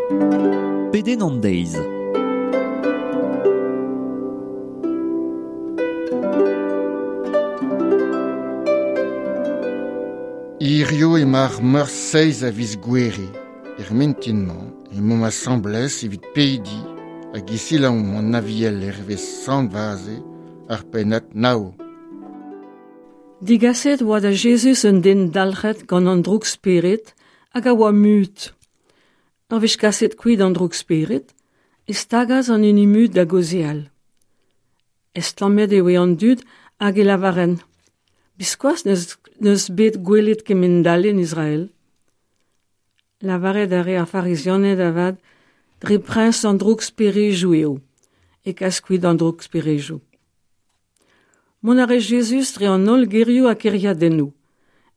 Pedenn an deiz. Hirio emañ ar meurzh seizh a viz Gouere. Er mintin-mañ emaomp asambles evit pediñ hag e selaomp an Aviel hervez Sant Vaze ar pennad nav. Digaset oa da Jezuz un den dalc'het gant an droug-spered hag a oa mut. Ur wech kaset kuit an droug-spered e stagas an hini mut da gaozeal. Estlammet e oe an dud hag e lavarent Biskoazh n'eus bet gwelet kemend-all en Israel. Lavaret a rae ar Farizianed avat dre priñs an droug-sperejoù eo e kas kuit an droug-sperejoù. Mont a rae Jezuz dre an holl gêrioù ha kêriadennoù,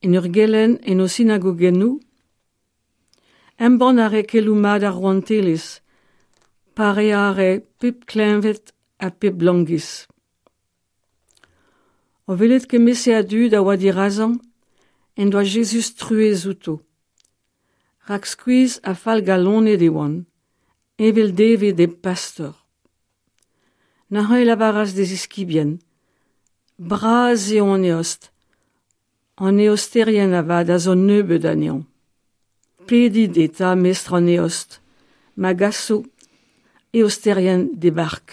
en ur gelenn en o sinagogennoù. Embann a rae keloù mat ar rouantelezh, pareañ a rae pep kleñved ha pep langis. O welet kement-se a dud a oa dirazañ en doa Jezuz truez outo. Rak skuizh ha fallgalonet e oant, evel devet hep pastor. Neuze e lavaras d'e ziskibien: Bras eo an eost, an eosterien avat a zo nebeut anezhañ. Pedit eta mestr an eost, ma gaso eosterien d'e bark.